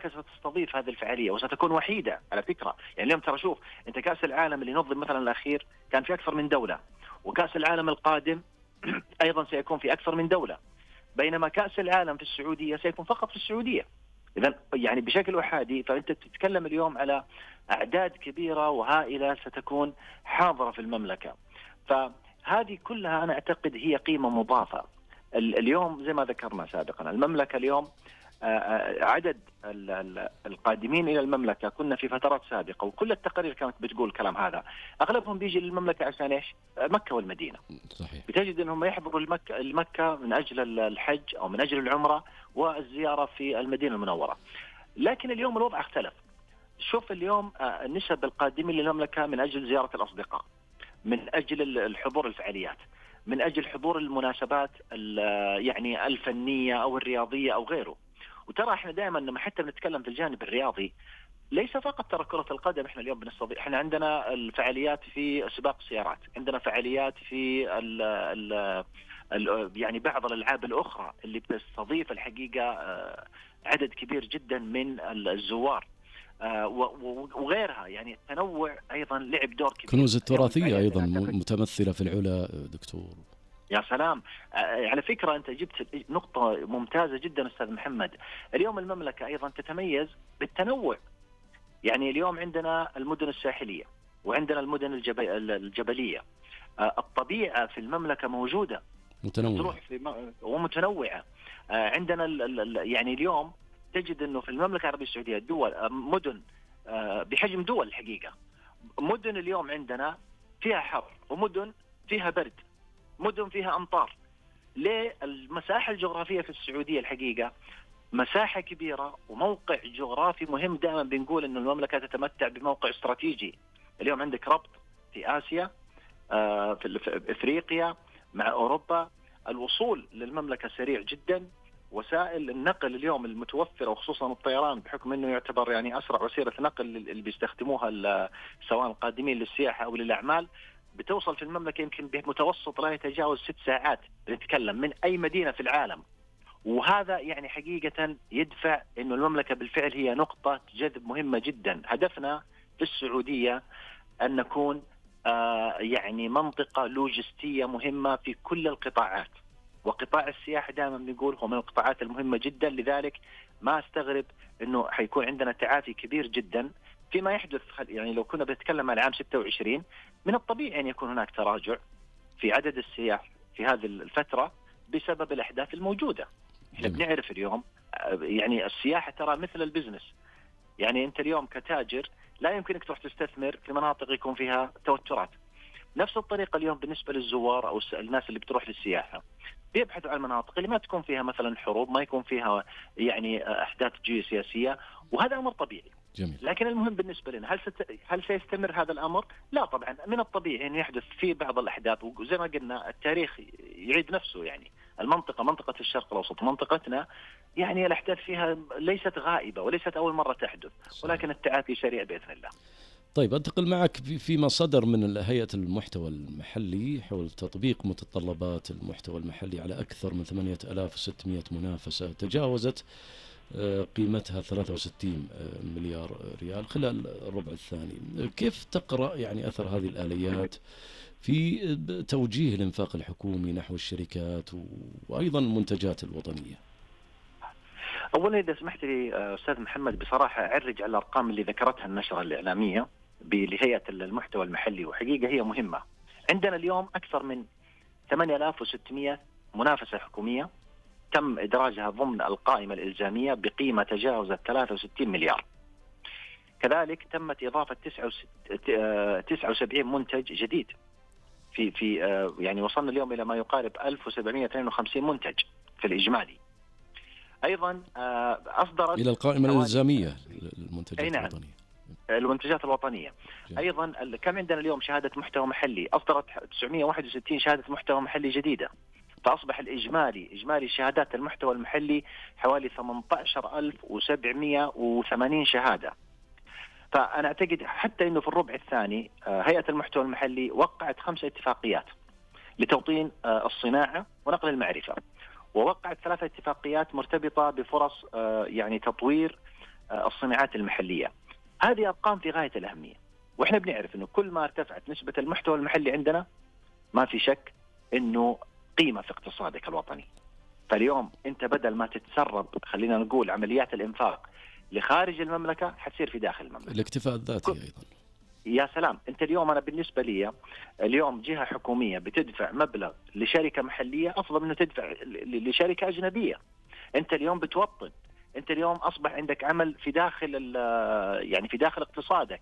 ستستضيف هذه الفعالية وستكون وحيدة على فكرة. يعني اليوم ترى شوف أنت كأس العالم اللي نظم مثلا الأخير كان في أكثر من دولة، وكأس العالم القادم أيضا سيكون في أكثر من دولة، بينما كأس العالم في السعودية سيكون فقط في السعودية. إذن يعني بشكل أحادي، فأنت تتكلم اليوم على أعداد كبيرة وهائلة ستكون حاضرة في المملكة. فهذه كلها أنا أعتقد هي قيمة مضافة. اليوم زي ما ذكرنا سابقا المملكة اليوم عدد القادمين إلى المملكة، كنا في فترات سابقة وكل التقارير كانت بتقول الكلام هذا، أغلبهم بيجي للمملكة عشان إيش؟ مكة والمدينة. صحيح. بتجد أنهم يحضروا المكة من أجل الحج أو من أجل العمرة والزيارة في المدينة المنورة. لكن اليوم الوضع اختلف. شوف اليوم نسب القادمين للمملكة من أجل زيارة الأصدقاء، من أجل الحضور الفعاليات، من أجل حضور المناسبات يعني الفنية أو الرياضية أو غيره. وترى احنا دائما لما حتى بنتكلم في الجانب الرياضي ليس فقط ترى كرة القدم، احنا اليوم بنستضيف، احنا عندنا الفعاليات في سباق السيارات، عندنا فعاليات في يعني بعض الألعاب الأخرى اللي بتستضيف الحقيقة عدد كبير جدا من الزوار وغيرها. يعني التنوع أيضا لعب دور كبير. كنوز التراثية أيضا متمثلة في العلا دكتور. يا سلام، على فكرة أنت جبت نقطة ممتازة جدا أستاذ محمد. اليوم المملكة أيضا تتميز بالتنوع. يعني اليوم عندنا المدن الساحلية وعندنا المدن الجبلية. الطبيعة في المملكة موجودة متنوعة ومتنوعة. عندنا يعني اليوم تجد أنه في المملكة العربية السعودية دول مدن بحجم دول الحقيقة. مدن اليوم عندنا فيها حر ومدن فيها برد، مدن فيها أمطار. ليه؟ المساحة الجغرافية في السعودية الحقيقة مساحة كبيرة وموقع جغرافي مهم. دائما بنقول أن المملكة تتمتع بموقع استراتيجي. اليوم عندك ربط في آسيا، في إفريقيا مع أوروبا. الوصول للمملكة سريع جدا. وسائل النقل اليوم المتوفرة وخصوصا الطيران بحكم أنه يعتبر يعني أسرع وسيلة نقل اللي بيستخدموها سواء القادمين للسياحة أو للأعمال، بتوصل في المملكة يمكن بمتوسط لا يتجاوز 6 ساعات نتكلم من أي مدينة في العالم. وهذا يعني حقيقة يدفع إنه المملكة بالفعل هي نقطة جذب مهمة جدا. هدفنا في السعودية أن نكون يعني منطقة لوجستية مهمة في كل القطاعات، وقطاع السياحة دائما بنقول هو من القطاعات المهمة جدا. لذلك ما استغرب إنه حيكون عندنا تعافي كبير جدا فيما يحدث. يعني لو كنا بنتكلم عن عام 26 من الطبيعي أن يكون هناك تراجع في عدد السياح في هذه الفترة بسبب الأحداث الموجودة. احنا بنعرف اليوم يعني السياحة ترى مثل البزنس. يعني أنت اليوم كتاجر لا يمكنك تروح تستثمر في مناطق يكون فيها توترات. نفس الطريقة اليوم بالنسبة للزوار أو الناس اللي بتروح للسياحة بيبحثوا عن المناطق اللي ما تكون فيها مثلا حروب، ما يكون فيها يعني أحداث جيوسياسية، وهذا أمر طبيعي. جميل. لكن المهم بالنسبة لنا هل سيستمر هذا الأمر؟ لا طبعا، من الطبيعي أن يحدث في بعض الأحداث، وزي ما قلنا التاريخ يعيد نفسه. يعني منطقة الشرق الأوسط منطقتنا يعني الأحداث فيها ليست غائبة وليست أول مرة تحدث، ولكن التعافي سريع بإذن الله. طيب أنتقل معك فيما صدر من هيئة المحتوى المحلي حول تطبيق متطلبات المحتوى المحلي على أكثر من 8600 منافسة تجاوزت قيمتها 63 مليار ريال خلال الربع الثاني. كيف تقرأ يعني أثر هذه الآليات في توجيه الإنفاق الحكومي نحو الشركات وأيضا المنتجات الوطنية؟ أولا إذا سمحت لي أستاذ محمد بصراحة أعرج على الأرقام اللي ذكرتها النشرة الإعلامية لهيئة المحتوى المحلي، وحقيقة هي مهمة. عندنا اليوم أكثر من 8600 منافسة حكومية تم إدراجها ضمن القائمة الإلزامية بقيمة تجاوزت 63 مليار. كذلك تمت إضافة 79 منتج جديد في يعني وصلنا اليوم إلى ما يقارب 1752 منتج في الإجمالي. أيضا أصدرت إلى القائمة الإلزامية للمنتجات الوطنية. المنتجات الوطنية. أيضا كم عندنا اليوم شهادة محتوى محلي؟ أصدرت 961 شهادة محتوى محلي جديدة، فأصبح إجمالي شهادات المحتوى المحلي حوالي 18780 شهادة. فأنا أعتقد حتى أنه في الربع الثاني هيئة المحتوى المحلي وقعت 5 اتفاقيات لتوطين الصناعة ونقل المعرفة، ووقعت 3 اتفاقيات مرتبطة بفرص يعني تطوير الصناعات المحلية. هذه أرقام في غاية الأهمية، وإحنا بنعرف أنه كل ما ارتفعت نسبة المحتوى المحلي عندنا ما في شك أنه قيمة في اقتصادك الوطني. فاليوم أنت بدل ما تتسرب خلينا نقول عمليات الإنفاق لخارج المملكة حتصير في داخل المملكة. الاكتفاء الذاتي أيضا. يا سلام، أنت اليوم أنا بالنسبة لي اليوم جهة حكومية بتدفع مبلغ لشركة محلية أفضل منه تدفع لشركة أجنبية. أنت اليوم بتوطن، أنت اليوم أصبح عندك عمل في داخل يعني في داخل اقتصادك.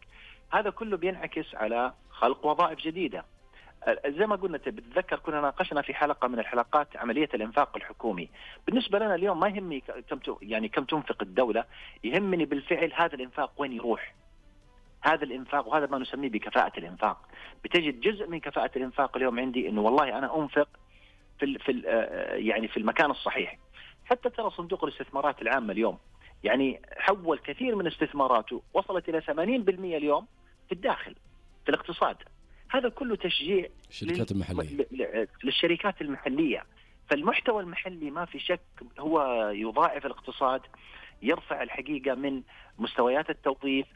هذا كله بينعكس على خلق وظائف جديدة. زي ما قلنا بتذكر كنا ناقشنا في حلقة من الحلقات عملية الإنفاق الحكومي. بالنسبة لنا اليوم ما يهمني كم تنفق الدولة، يهمني بالفعل هذا الإنفاق وين يروح. هذا الإنفاق، وهذا ما نسميه بكفاءة الإنفاق. بتجد جزء من كفاءة الإنفاق اليوم عندي إنه والله أنا أنفق يعني في المكان الصحيح. حتى ترى صندوق الاستثمارات العامة اليوم يعني حول كثير من استثماراته، وصلت إلى 80% اليوم في الداخل في الاقتصاد. هذا كله تشجيع للشركات المحلية. فالمحتوى المحلي ما في شك هو يضاعف الاقتصاد، يرفع الحقيقة من مستويات التوظيف.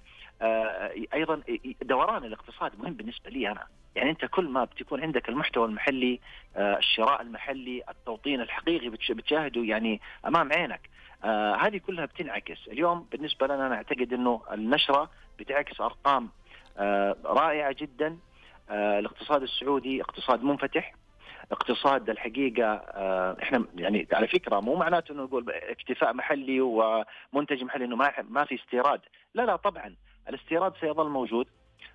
أيضا دوران الاقتصاد مهم بالنسبة لي أنا. يعني أنت كل ما بتكون عندك المحتوى المحلي، الشراء المحلي، التوطين الحقيقي بتشاهده يعني أمام عينك. هذه كلها بتنعكس اليوم. بالنسبة لنا أنا أعتقد أنه النشرة بتعكس أرقام رائعة جدا. الاقتصاد السعودي اقتصاد منفتح، اقتصاد الحقيقة احنا يعني على فكرة مو معناته انه نقول اكتفاء محلي ومنتج محلي انه ما في استيراد. لا طبعا الاستيراد سيظل موجود.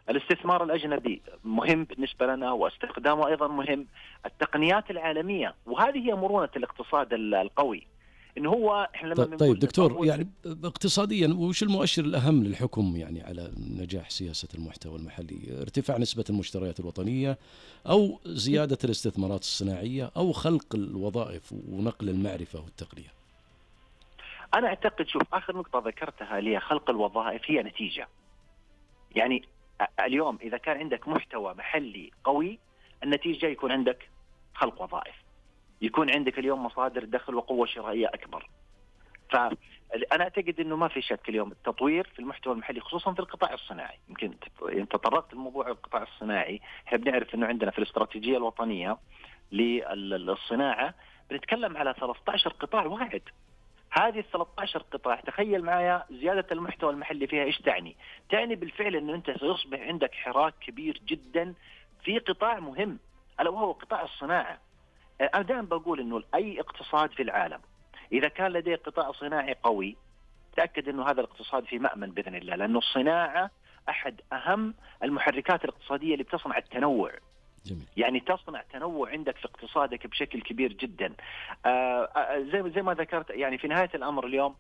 الاستثمار الأجنبي مهم بالنسبة لنا واستخدامه أيضا مهم. التقنيات العالمية، وهذه هي مرونة الاقتصاد القوي. إنه هو إحنا لما طيب دكتور، يعني اقتصاديا وش المؤشر الأهم للحكم يعني على نجاح سياسة المحتوى المحلي؟ ارتفاع نسبة المشتريات الوطنية، أو زيادة الاستثمارات الصناعية، أو خلق الوظائف ونقل المعرفة والتقنية؟ أنا أعتقد شوف آخر نقطة ذكرتها اللي هي خلق الوظائف هي نتيجة. يعني اليوم إذا كان عندك محتوى محلي قوي، النتيجة يكون عندك خلق وظائف، يكون عندك اليوم مصادر دخل وقوة شرائية أكبر. فأنا أعتقد أنه ما في شك اليوم التطوير في المحتوى المحلي خصوصا في القطاع الصناعي. يمكن تطرقت الموضوع القطاع الصناعي. احنا بنعرف أنه عندنا في الاستراتيجية الوطنية للصناعة بنتكلم على 13 قطاع واحد. هذه ال 13 قطاع تخيل معايا زيادة المحتوى المحلي فيها إيش تعني؟ تعني بالفعل أنه أنت سيصبح عندك حراك كبير جدا في قطاع مهم ألا وهو قطاع الصناعة. أنا دائما بقول أنه أي اقتصاد في العالم إذا كان لديه قطاع صناعي قوي تأكد أنه هذا الاقتصاد في مأمن بإذن الله، لأنه الصناعة أحد أهم المحركات الاقتصادية اللي بتصنع التنوع. جميل. يعني تصنع تنوع عندك في اقتصادك بشكل كبير جدا. زي ما ذكرت يعني في نهاية الأمر اليوم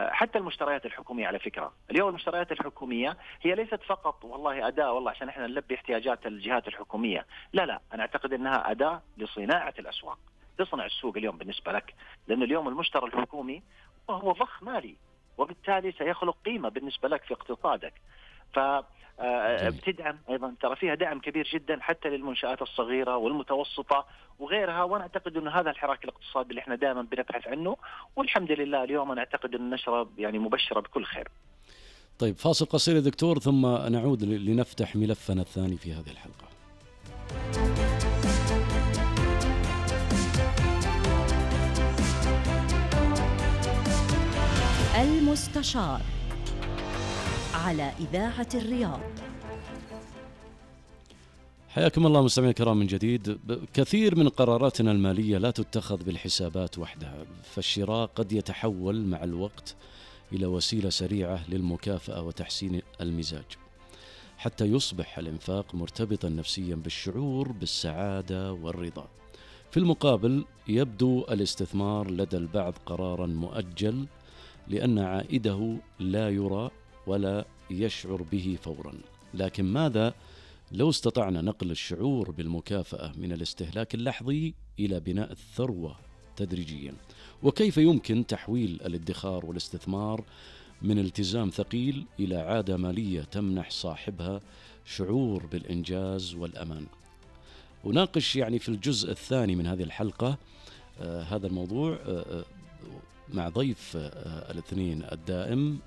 حتى المشتريات الحكومية على فكرة اليوم المشتريات الحكومية هي ليست فقط والله أداة والله عشان احنا نلبي احتياجات الجهات الحكومية. لا أنا أعتقد أنها أداة لصناعة الأسواق، تصنع السوق اليوم بالنسبة لك، لأن اليوم المشترى الحكومي هو ضخ مالي وبالتالي سيخلق قيمة بالنسبة لك في اقتصادك. بتدعم أيضا، ترى فيها دعم كبير جدا حتى للمنشآت الصغيرة والمتوسطة وغيرها. وأنا أعتقد أن هذا الحراك الاقتصادي اللي احنا دائما بنبحث عنه، والحمد لله اليوم أنا أعتقد أن النشرة يعني مبشرة بكل خير. طيب فاصل قصير يا دكتور ثم نعود لنفتح ملفنا الثاني في هذه الحلقة. المستشار على إذاعة الرياض. حياكم الله مستمعينا الكرام من جديد. كثير من قراراتنا المالية لا تتخذ بالحسابات وحدها، فالشراء قد يتحول مع الوقت إلى وسيلة سريعة للمكافأة وتحسين المزاج، حتى يصبح الإنفاق مرتبطا نفسيا بالشعور بالسعادة والرضا. في المقابل يبدو الاستثمار لدى البعض قرارا مؤجل لأن عائده لا يرى ولا يشعر به فورا. لكن ماذا لو استطعنا نقل الشعور بالمكافأة من الاستهلاك اللحظي إلى بناء الثروة تدريجيا؟ وكيف يمكن تحويل الادخار والاستثمار من التزام ثقيل إلى عادة مالية تمنح صاحبها شعور بالإنجاز والأمان؟ أناقش يعني في الجزء الثاني من هذه الحلقة هذا الموضوع مع ضيف الاثنين الدائم